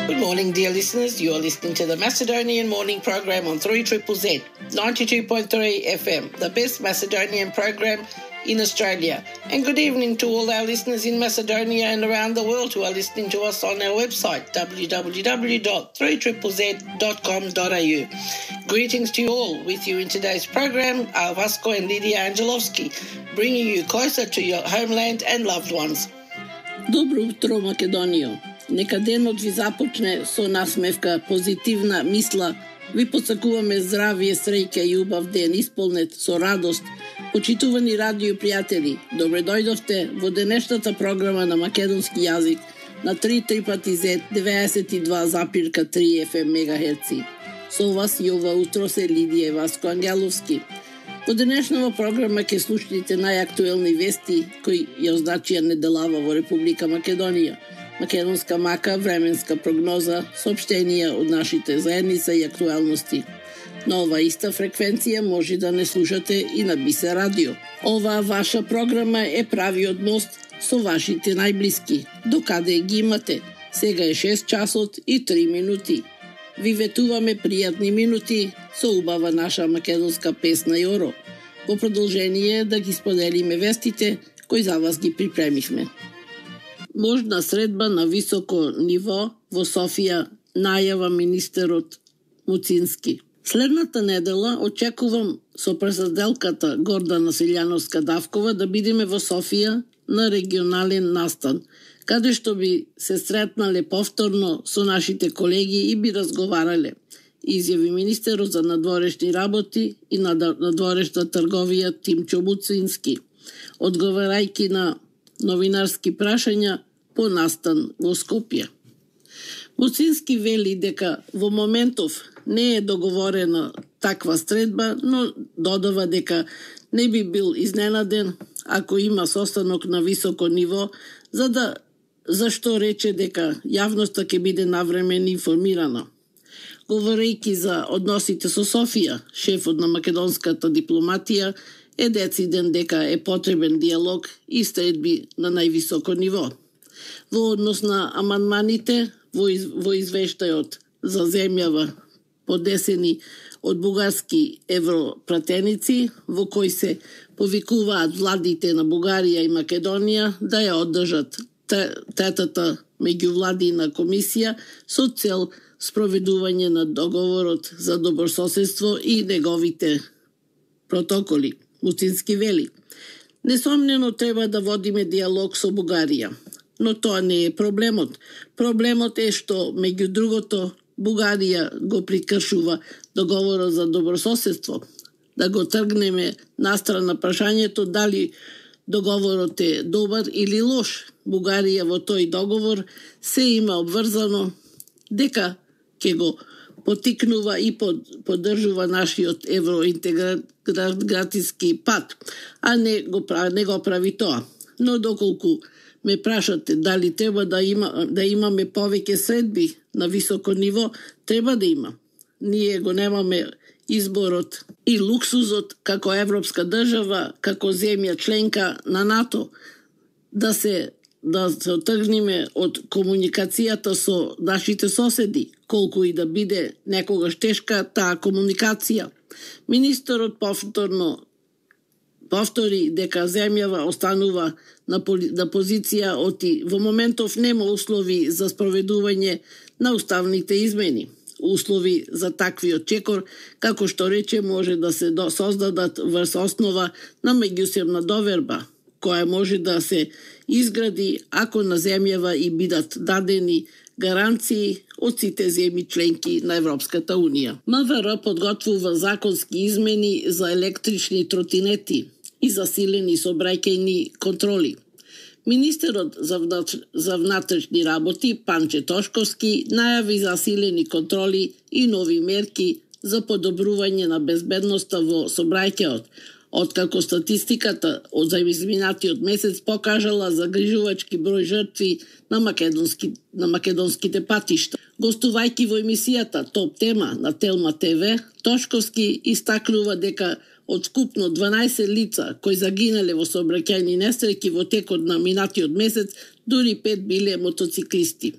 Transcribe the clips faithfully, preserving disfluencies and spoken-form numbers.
Good morning, dear listeners. You are listening to the Macedonian Morning Program on three Z Z Z, ninety-two point three F M, the best Macedonian program in Australia. And good evening to all our listeners in Macedonia and around the world who are listening to us on our website, w w w dot three z z z dot com dot a u. Greetings to you all. With you in today's program are Vasco and Lydia Angelovski, bringing you closer to your homeland and loved ones. Добро утро, Македонијо. Нека денот ви започне со насмевка, позитивна мисла. Ви посакуваме здравие, среќа и убав ден, исполнет со радост. Почитувани радио пријатели, добре дојдовте во денешната програма на македонски јазик на три трипати зет деветдесет и два запирка три Ф М мегахерци. Со вас и ова утро се Лидија и Васко Ангеловски. Во денешнава програма ќе слушнете најактуелни вести кои ја означија неделава во Република Македонија, македонска мака, временска прогноза, соопштенија од нашите заедница и актуелности. На ова иста фреквенција може да не слушате и на Бисе радио. Оваа ваша програма е правиот мост со вашите најблиски. Докаде ги имате? Сега е шест часот и три минути. Ви ветуваме пријатни минути со убава наша македонска песна Јоро. Во продолжение да ги споделиме вестите кои за вас ги припремивме. Можна средба на високо ниво во Софија, најава министерот Муцински. Следната недела очекувам со председателката Гордана Силјановска-Давкова да бидеме во Софија на регионален настан, каде што би се сретнале повторно со нашите колеги и би разговарале, изјави министерот за надворешни работи и надворешна трговија Тимчо Муцински, одговарајќи на новинарски прашања по настан во Скопје. Муцински вели дека во моментов не е договорена таква средба, но додава дека не би бил изненаден ако има состанок на високо ниво, за да зашто рече дека јавноста ќе биде навремено информирана. Говорејќи за односите со Софија, шефот на македонската дипломатија е дециден дека е потребен диалог и средби на највисоко ниво. Во однос на амандманите во, из, во извештајот за земјава подесени од бугарски европратеници, во кој се повикуваат владите на Бугарија и Македонија да ја одржат третата меѓувладина комисија со цел спроведување на договорот за добрососедство и неговите протоколи. Муцински вели: несомнено треба да водиме диалог со Бугарија, но тоа не е проблемот. Проблемот е што, меѓу другото, Бугарија го прикршува договорот за добрососедство. Да го тргнеме настрана прашањето дали договорот е добар или лош. Бугарија во тој договор се има обврзано дека ќе го потикнува и под, поддржува нашиот евроинтегратиски пат, а не го, не го прави тоа. Но доколку ме прашате дали треба да има да имаме повеќе средби на високо ниво, треба да има. Ние го немаме изборот и луксузот како европска држава, како земја членка на НАТО, да се да се отргнеме од комуникацијата со нашите соседи, колку и да биде некогаш тешка таа комуникација. Министерот повторно повтори дека земјава останува на, на позиција оти во моментов нема услови за спроведување на уставните измени. Услови за таквиот чекор, како што рече, може да се до, создадат врз основа на меѓусебна доверба, која може да се изгради ако на земјава и бидат дадени гаранции од сите земји членки на Европската Унија. МВР подготвува законски измени за електрични тротинети и засилени сообраќајни контроли. Министерот за внатрешни работи Панче Тошковски најави засилени контроли и нови мерки за подобрување на безбедноста во сообраќајот, откако статистиката од за изминатиот месец покажала загрижувачки број жртви на македонски на македонските патишта. Гостувајќи во емисијата Топ тема на Телма ТВ, Тошковски истакнува дека од скупно дванаесет лица кои загинале во сообраќајни несреќи во текот на минатиот месец, дури пет биле мотоциклисти.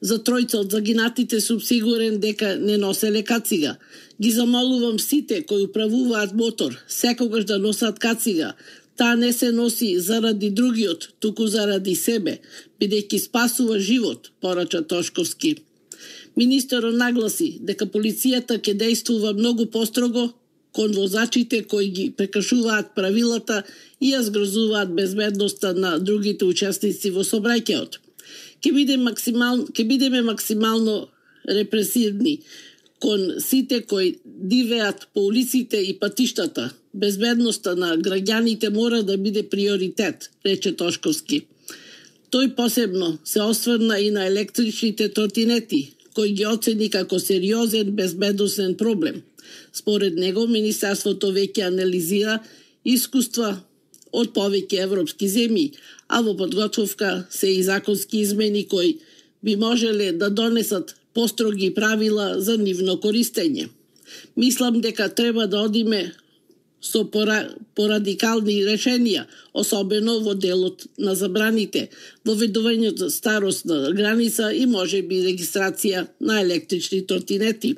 За тројца од загинатите сум сигурен дека не носеле кацига. Ги замолувам сите кои управуваат мотор, секогаш да носат кацига. Таа не се носи заради другиот, туку заради себе, бидејќи спасува живот, порача Тошковски. Министерот нагласи дека полицијата ќе действува многу построго кон возачите кои ги прекршуваат правилата и ја згрозуваат безбедноста на другите учесници во сообраќајот. Ќе биде максимално, ќе бидеме максимално репресивни кон сите кои дивеат по улиците и патиштата. Безбедноста на граѓаните мора да биде приоритет, рече Тошковски. Тој посебно се осврна и на електричните тротинети, кои ги оцени како сериозен безбедносен проблем. Според него, Министерството веќе анализира искуства од повеќе европски земји, а во подготовка се и законски измени кои би можеле да донесат построги правила за нивно користење. Мислам дека треба да одиме со пора, порадикални решенија, особено во делот на забраните, воведувањето старосна граница и можеби регистрација на електрични тротинети.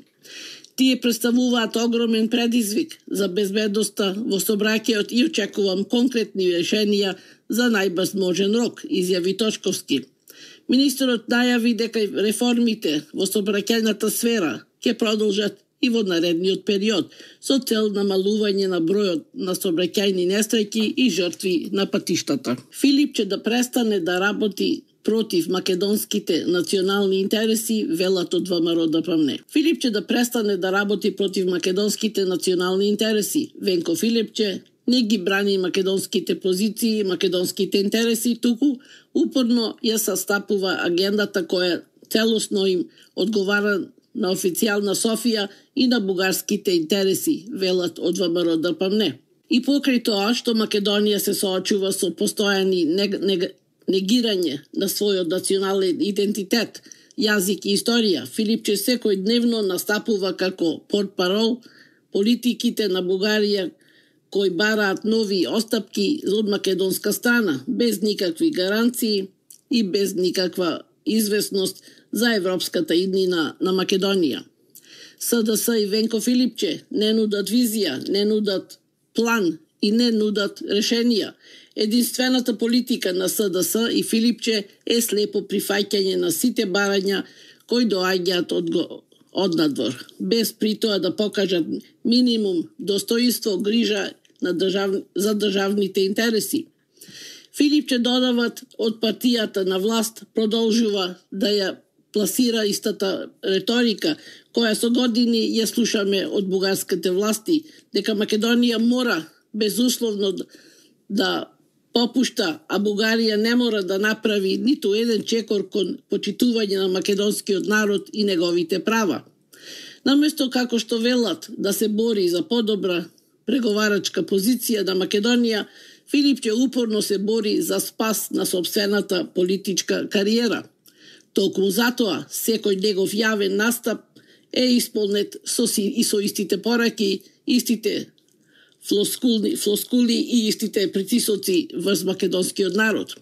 Тие представуваат огромен предизвик за безбедноста во сообраќајот и очекувам конкретни решенија за најбрз можен рок, изјави Тошковски. Министерот најави дека реформите во сообраќајната сфера ќе продолжат и во наредниот период, со цел намалување на бројот на сообраќајни несреќи и жртви на патиштата. Филипче да престане да работи против македонските национални интереси, велат од ВМРО Д П М Н. Филипче да престане да работи против македонските национални интереси. Венко Филипче не ги брани македонските позиции и македонските интереси, туку упорно ја састапува агендата која целосно им одговара на официјална Софија и на бугарските интереси, велат од ВМРО Д П М Н. И покрај тоа што Македонија се соочува со постојани нег, нег, негирање на својот национален идентитет, јазик и историја, Филипче секој дневно настапува како портпарол политиките на Бугарија кои бараат нови остапки од македонска страна, без никакви гаранции и без никаква известност за европската иднина на Македонија. С Д С и Венко Филипче не нудат визија, не нудат план и не нудат решенија. Единствената политика на С Д С и Филипче е слепо прифаќање на сите барања кои доаѓаат од, од надвор, без при тоа да покажат минимум достоинство, грижа на држав... за државните интереси. Филипче додават од партијата на власт продолжува да ја пласира истата реторика, која со години ја слушаме од бугарските власти, дека Македонија мора безусловно да попушта, а Бугарија не мора да направи ниту еден чекор кон почитување на македонскиот народ и неговите права. Наместо како што велат да се бори за подобра преговарачка позиција на Македонија, Филипче упорно се бори за спас на собствената политичка кариера. Толку затоа, секој негов јавен настап е исполнет со си, и со истите пораки, истите флоскули, флоскули и истите притисоци врз македонскиот народ.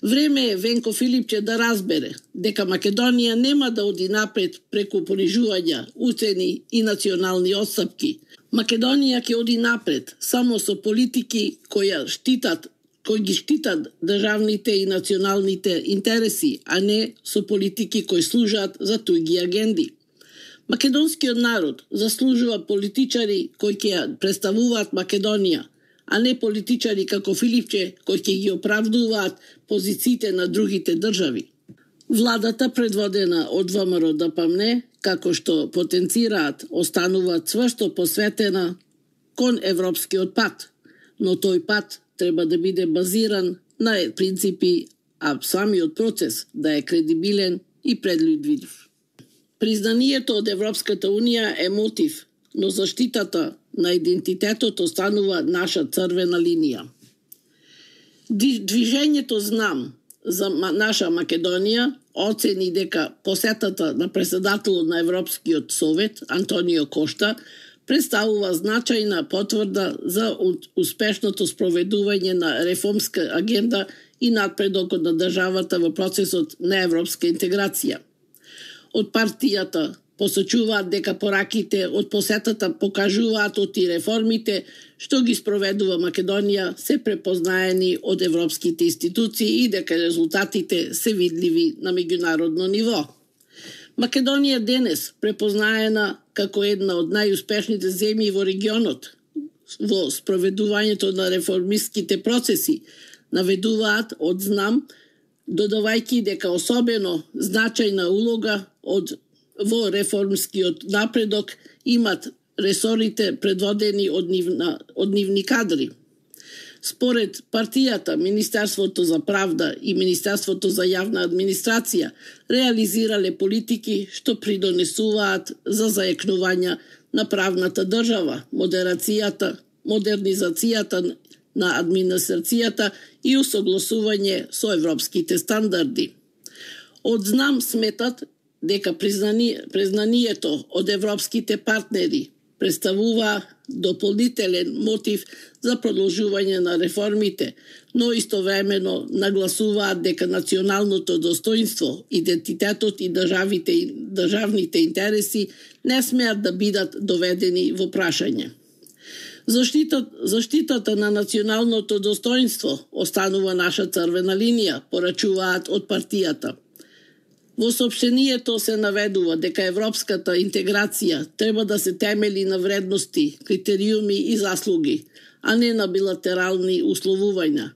Време е Венко Филипче да разбере дека Македонија нема да оди напред преку понижувања, уцени и национални отстапки. Македонија ќе оди напред само со политики кои штитат, кои ги штитат државните и националните интереси, а не со политики кои служат за туѓи агенди. Македонскиот народ заслужува политичари кои ќе представуваат Македонија, а не политичари како Филипче кои ќе ги оправдуваат позициите на другите држави. Владата, предводена од ВМРО Д П М Н, како што потенцираат, останува цврсто посветена кон европскиот пат, но тој пат треба да биде базиран на принципи, а самиот процес да е кредибилен и предвидлив. Признанието од Европската Унија е мотив, но заштитата на идентитетот останува наша црвена линија. Движењето Знам за наша Македонија оцени дека посетата на председателот на Европскиот совет Антонио Кошта представува значајна потврда за успешното спроведување на реформска агенда и надпредокот на државата во процесот на европска интеграција. Од партијата посочуваат дека пораките од посетата покажуваат оти реформите што ги спроведува Македонија се препознаени од европските институции и дека резултатите се видливи на меѓународно ниво. Македонија денес препознаена како една од најуспешните земји во регионот во спроведувањето на реформистските процеси, наведуваат од знам, додавајќи дека особено значајна улога од во реформскиот напредок имат ресорите предводени од, нивна, од нивни кадри. Според партијата, Министерството за правда и Министерството за јавна администрација реализирале политики што придонесуваат за заекнување на правната држава, модерацијата, модернизацијата на администрацијата и усогласување со европските стандарди. Од знам сметат дека признание, признанието од европските партнери представува дополнителен мотив за продолжување на реформите, но истовремено нагласуваат дека националното достоинство, идентитетот и државите, државните интереси не смеат да бидат доведени во прашање. Заштита, заштитата на националното достоинство останува наша црвена линија, порачуваат од партијата. Во соопштението се наведува дека европската интеграција треба да се темели на вредности, критериуми и заслуги, а не на билатерални условувања.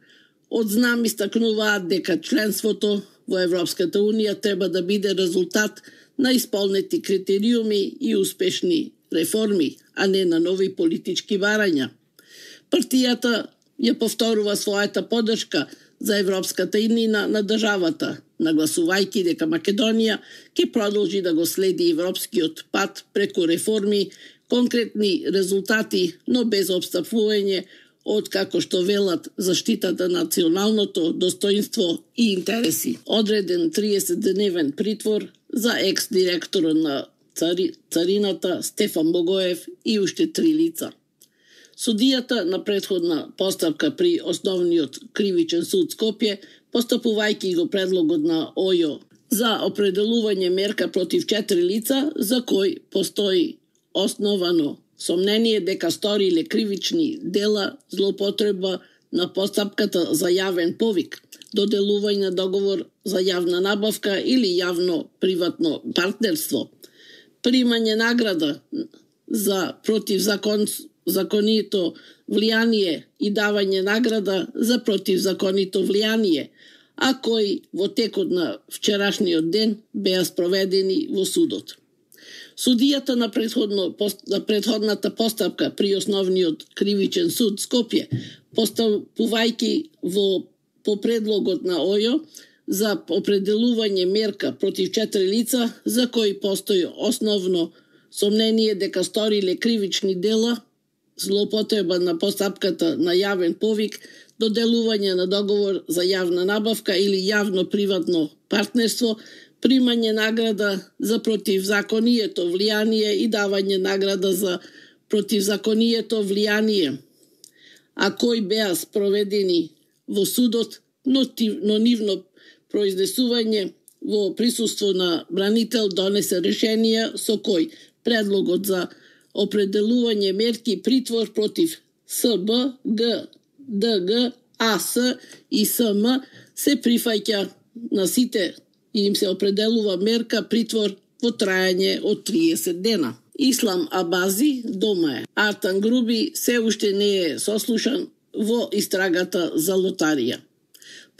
Од знам истакнуваат дека членството во Европската Унија треба да биде резултат на исполнети критериуми и успешни реформи, а не на нови политички барања. Партијата ја повторува својата поддршка за европската иднина на државата, нагласувајќи дека Македонија ќе продолжи да го следи европскиот пат преку реформи, конкретни резултати, но без обстапување од, како што велат, заштитата на националното достоинство и интереси. Одреден триесетдневен притвор за екс-директорот на цари, царината Стефан Богоев и уште три лица. Судијата на претходна постапка при Основниот кривичен суд Скопје, постапувајќи го предлогот на ОЈО за определување мерка против четири лица, за кои постои основано сомнение дека сториле кривични дела злоупотреба на постапката за јавен повик, доделување на договор за јавна набавка или јавно-приватно партнерство, примање награда за противзакон законито влијание и давање награда за противзаконито влијание, а кои во текот на вчерашниот ден беа спроведени во судот. Судијата на, предходно, на предходната постапка при Основниот кривичен суд Скопје, постапувајќи во по предлогот на ОЈО за определување мерка против четири лица за кои постои основно сомнение дека сториле кривични дела, злоупотреба на постапката на јавен повик, доделување на договор за јавна набавка или јавно-приватно партнерство, примање награда за противзаконието влијание и давање награда за противзаконието влијание, а кои беа спроведени во судот, но, но нивно произнесување во присуство на бранител донесе решение со кој предлогот за определување мерки притвор против СБ, Г, ДГ, АС и СМ се прифаќа на сите и им се определува мерка притвор во трајање од триесет дена. Ислам Абази дома е. Артан Груби се уште не е сослушан во истрагата за лотарија.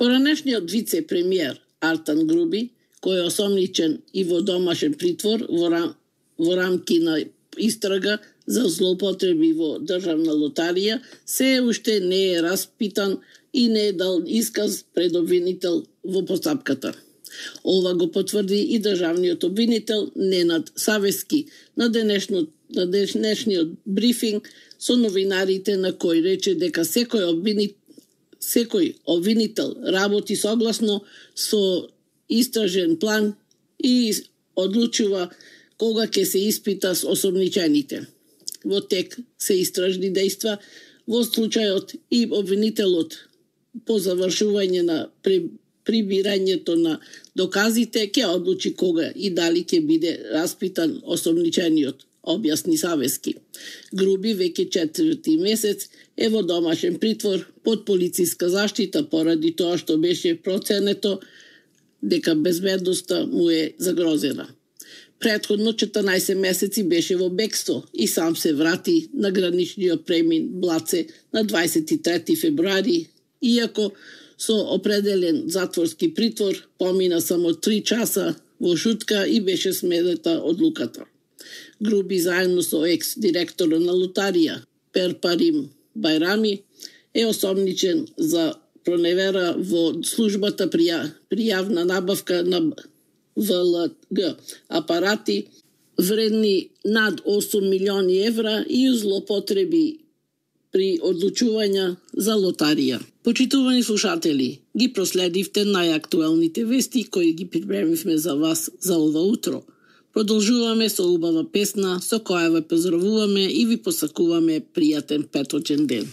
Поранешниот вице-премиер Артан Груби, кој е осомничен и во домашен притвор во, рам, во рамки на истрага за злоупотреби во државна лотарија, се уште не е распитан и не е дал исказ пред обвинител во постапката. Ова го потврди и државниот обвинител Ненад Савески на, денешно, на денешниот брифинг со новинарите, на кој рече дека секој обвинител Секој обвинител работи согласно со истражен план и одлучува кога ќе се испита с осомничените. Во тек се истражни дејства, во случајот и обвинителот по завршување на прибирањето на доказите ќе одлучи кога и дали ќе биде распитан осомничениот, објасни Савески. Груби веќе четврти месец е во домашен притвор под полициска заштита поради тоа што беше проценето дека безбедноста му е загрозена. Претходно четрнаесет месеци беше во бегство и сам се врати на граничниот премин Блаце на дваесет и трети февруари, иако со определен затворски притвор помина само три часа во шутка и беше сменета одлуката. Груби заедно со екс-директора на лотарија Перпарим Байрами е осомничен за проневера во службата при јавна набавка на В Л Г апарати вредни над осум милиони евра и злоупотреби при одлучувања за лотарија. Почитувани слушатели, ги проследивте најактуелните вести кои ги припремивме за вас за ова утро. Продолжуваме со убава песна со која ве поздравуваме и ви посакуваме пријатен петочен ден.